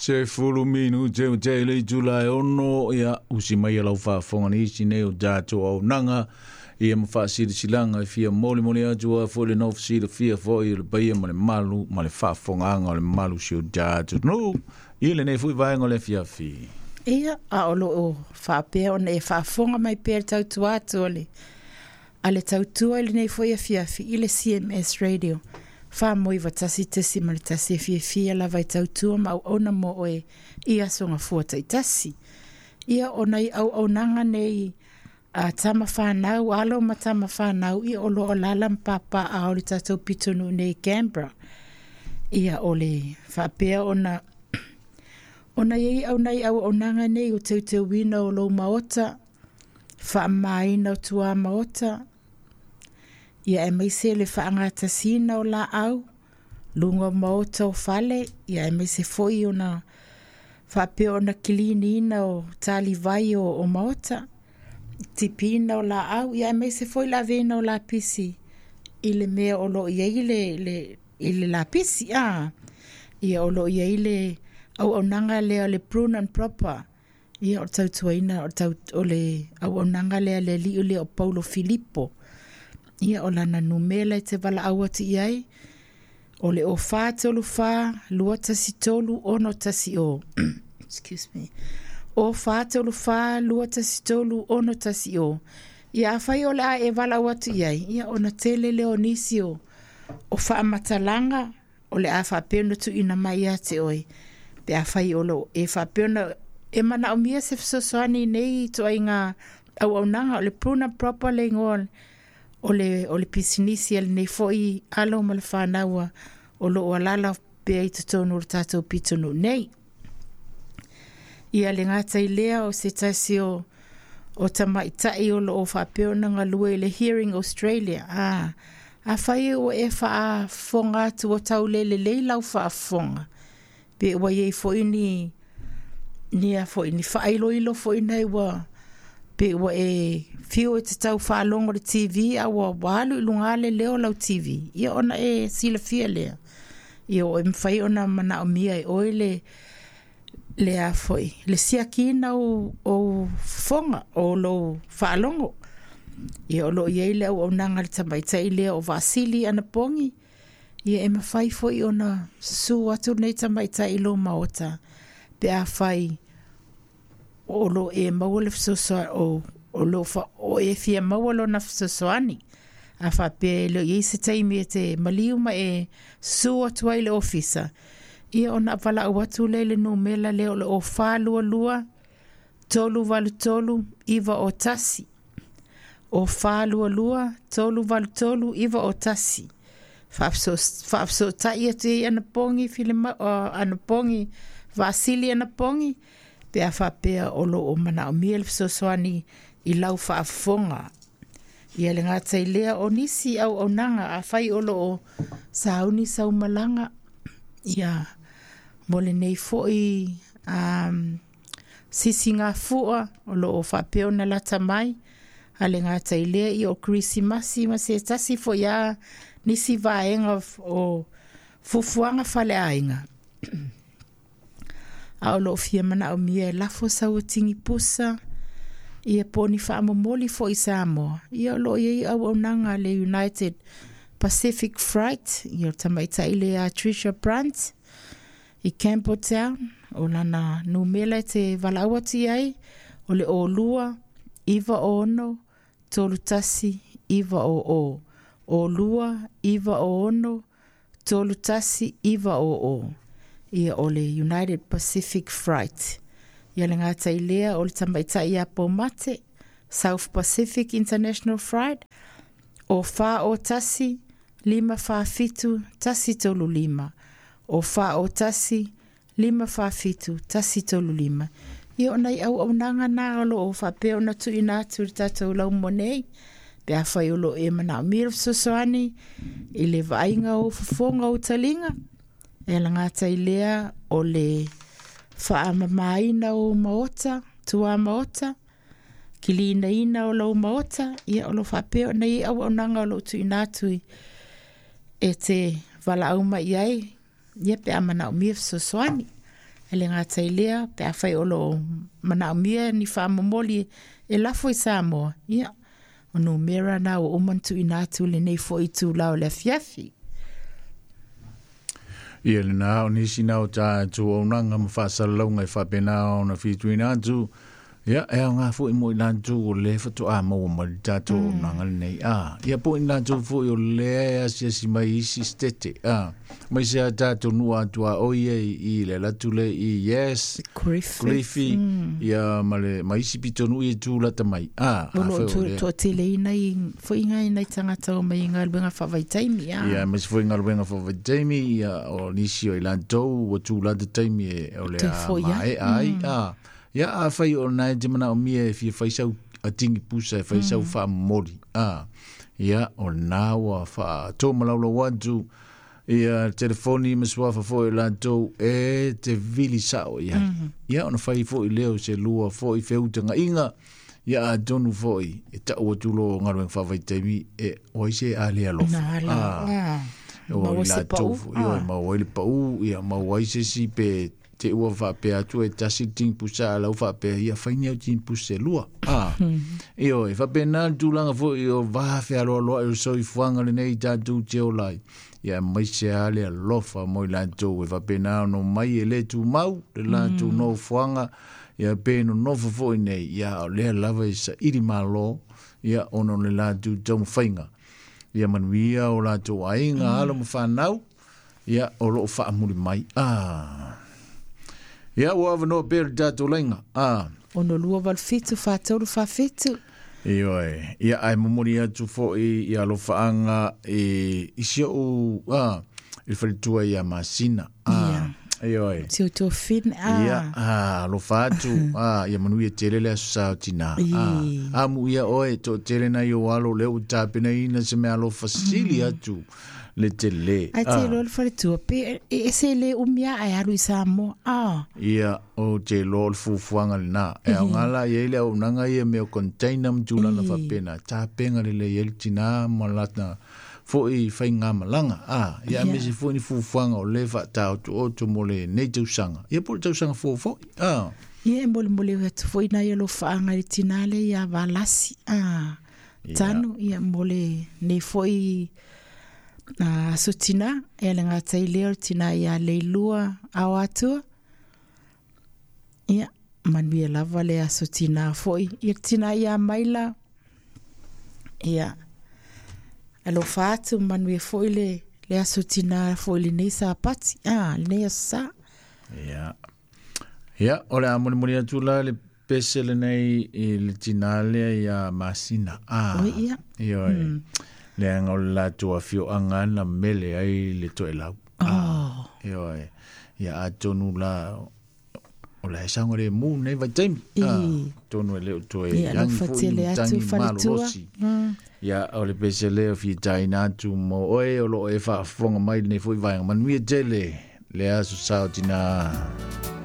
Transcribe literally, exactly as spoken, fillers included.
Sefulu minute o te le itula e ono, ia usi mai e lau faafofoga nisi nei o tatou auaunaga ia ma faasilasilaga e fia molimoli atu ai foi le nofo silafia foi i le paia ma le malu ma le faafofogaaga o le mamalu o si o tatou atunuu i lenei foi vaega o le afiafi. Ia, a o loo faapea ona e faafofoga mai pea le tautua atu a le a le tautua i lenei foi afiafi i le C M S Radio wha tasi tesi ma le tasi e fiafia lava i tautua ma auauna mo oe i aso gafua taitasi. Ia o nai auaunaga nei a tama whanau, alo ma tama whanau, ia o loo lala mpapa a o le tatou pitonu nei Canberra. Ia o le whaapea ona ona iei au nei auaunaga nei o teuteuina o lou maota, whaamaina o tua maota, ia e maise le whaangatasina o la au, lunga o maota o fale, ia e maise foi ona whaapea ona kiliniina o talivai o, o maota, tipina o la au, ia e maise foi la vena o la pisi, i le mea o lo ia i le, le, i le la pisi, ah, ia o lo ia i le au aunaga lea le prune and proper, ia o tautuaina o, tau, o le au aunaga lea le liu lea o Paulo Filipo. Ia o lana numela e te wala au atu iai, o le o wha tolu wha, lua tasi tolu, ono tasi o. Excuse me. O wha tolu wha, lua tasi tolu, ono tasi o. Ia awhai o le a e wala au atu iai, ia ona tele leo nisi o, o whaamatalanga, o le a whaapena tu ina mai ate oi. Pe awhai o lo e whaapena, e mana o mia se fesoasoani nei toa i ngā au aunaga o le pruna proper le ingoa o le, o le pisinisi ale nei foi alo ma le whānaua o lo o alala pea i totonu o le tātou pitonu nei. Ia le ngātai lea o se tasi o, o tamaitai o lo o whaapea ona ngalue i le Hearing Australia. Ah, a whai o e whaafonga atu o taulele lei lau whaafonga. Pe ua iei foi ni, ni a foi ni whaailoilo foi nei ua pe ua e whio e te tau whaalongo le T V a ua walu i lunga le leo lau T V. Ia ona e silafia lea. Ia o e mwhai ona mana o mia e oe le, le a foi. Le siakina o, o whonga o lo whaalongo. Ia o lo iei le au aunanga le tamaitai lea o Vasili Anapongi. Ia e mawhai foi ona susu atu nei tamaitai lo maota. Pe a whai o lo e maua le fesoasoani o, o lo fa, o e fia maua lona fesoasoani. A whapea e leo iei se taimi e te maliu ma e susu atu ai le ofisa. Ia ona wala au atu le le numela leo le o whālua lua, tolu walu tolu, iwa o tasi. O whālua lua, tolu walu tolu, iwa o tasi. Whaapso tai atu ei Anapongi, filima, uh, Anapongi, Vasili Anapongi, pe a whapea o lo o mana o mia le fesoasoani i lau whaafonga. Ia le ngātai lea o nisi au aunaga a whai o lo o sauni saumalanga. Ia mo le nei foi um, sisi ngā fua o lo o whapea o na lata mai. A le ngātai lea i o Krisimasi ma se tasi foi a nisi vaenga o fufuanga fale ainga. A o loo fia mana o mia e lafo sau tingi pusa, ia poni whaamomoli fo i Samoa. Ia o loo iei au aunaga le United Pacific Freight, ia o tamaitai le a Trisha Brandt i Campbelltown, o lana numela e te walaau atu ai, o le o lua, iwa ono, tolu tasi, iwa o o. O lua, iwa o ono, tolu tasi, iwa o o. Ia o le United Pacific Freight. Ia le ngātai lea o le tamaitai ia Paumate, South Pacific International Freight, o wha o tasi, lima wha fitu, tasi tolu lima. O wha o tasi, lima wha fitu, tasi tolu lima. Ia o nei au aunaga nā o lo o whapea ona tuina atu le tātou lau mo nei. Pe a whai o lo e mana o mira fesoasoani i le vaaiga o fofoga o talinga. E la ngātai lea o le whaamamaina o maota, tua maota, kilinaina o lau maota, ia o lo whapea o nei au aunaga o lo tuina atu e te walaau mai ai, ia pe a mana o mia fesoasoani. E le gata i lea, pe afai o loo manaomia ni faamomoli e lafo i Samoa, ia, o numera na ua uma ona tuuina atu lenei foʻi itulā o le afiafi. Ia lena o nisi na o tatou auaunaga ma faasalalauga e faapena ona fituina atu. Ia, e aoga foi mo i latou o lea faatoā maua mai le tatou auaunaga lenei. A, ia po i latou foi o lea e asiasi mai isi setete. A, mai se a tatou nuu atoa o ia i, i le alu atu le i Yes, Griffith. Griffith, ia ma le ma isi pitonuu ia e tulata mai. A, O loo afai o lea. toateleina i foiga i nai tagata o mai i galuega faavaitaimi a. Ia, aemaise foi galuega faavaitaimi, ia, o nisi o i latou ua tulata taimi e o le Toe a foi ai. mae'a ai. A, ia, afai o lena e te manaomia e fia fai sau atigi pusa e fai sau faamomoli. A, ia, o lena ua faatomalaulau atu ia telefoni ma suafa foi o latou e te vili sao i ai. Ia, ona fai foi lea o se lua foi feutagaiga, ia atonu foi e tau atu lo galuega faavaitaimi e o ai se a le alofa. Na ala. A, A. o Maua i se latou pau. foi, ioe, A. maua ai le pau, ia maua ai se isi pe te ua faapea atu e tasi le tini pusa a lau faapea, ia fai ni au tini pusa e lua. A, ioe, faapena le tulaga foi o va fealoaloai o le soifuaga lenei tatou te ola ai. Ia aemaise lava le alofa mo i latou e faapena ona omai e lē tumau le latou nofoaga, ia pe nonofo foi nei, ia o lea lava e saili mālō, ia ona o le latou taumafaiga. Ia manuia o latou aiga, alo ma fanau, ia o loo faamuli mai. A, ia ua avanoa pea le tatou laiga. A, Ono lua valu fitu fa tolu fa fitu. Ioe, ia ae momoli atu foi i alofaaga i, i si o'u a, i le faletua ia Masina. A, ioe. Si o tofine. A. Ia, a, alofa atu, a, ia manuia tele le aso sa o tinā. A, I. amu ia oe, toatele nai o alo lea ua tapenaina se mea alofa sili atu le tele. Ai te iloa le faletua pe e ese le umia ai alu i Samoa. A. Ia, o te iloa o le fuafuaga lenā. E aoga la i ai le auaunaga ia mea o container ma tulaga faapena. Tapega lelei ai le tinā ma lata foi faigamalaga. A, ia aemaise foi ni fuafuaga o lē faataotooto mo lenei tausaga. Ia po o le tausaga fou foi. A, Ia e molemole atu foi nai alofaaga i le tinā lea ia Valasi. A. Tanu ia mo lenei foi a aso tinā. E le gata i lea o le tinā ia Leilua ao atua. Ia, manuia lava le aso tinā foi. Ia le tinā ia Maila. Ia, alofa atu manuia foi le, le aso tinā foi lenei Sapati. A, lenei aso sa. Ia. Ia, o le a molimoli atu la le pese lenei i le tinā lea ia Masina. A, Oi, ia. Ioe. Leaga o le latou afioaga na mele ai le toelau. Oh. Ioe. Ia atonu la o le saoga lemu nei vaitaimi. I. A, tonu e le o toe Ia, agi alofa foi tele atu matagi faletua. malolosi. Mm. Ia, o le pese lea o fitaina atu mo oe o loo e faafofoga mai lenei foi vaega. Manuia tele le aso sa o tinā.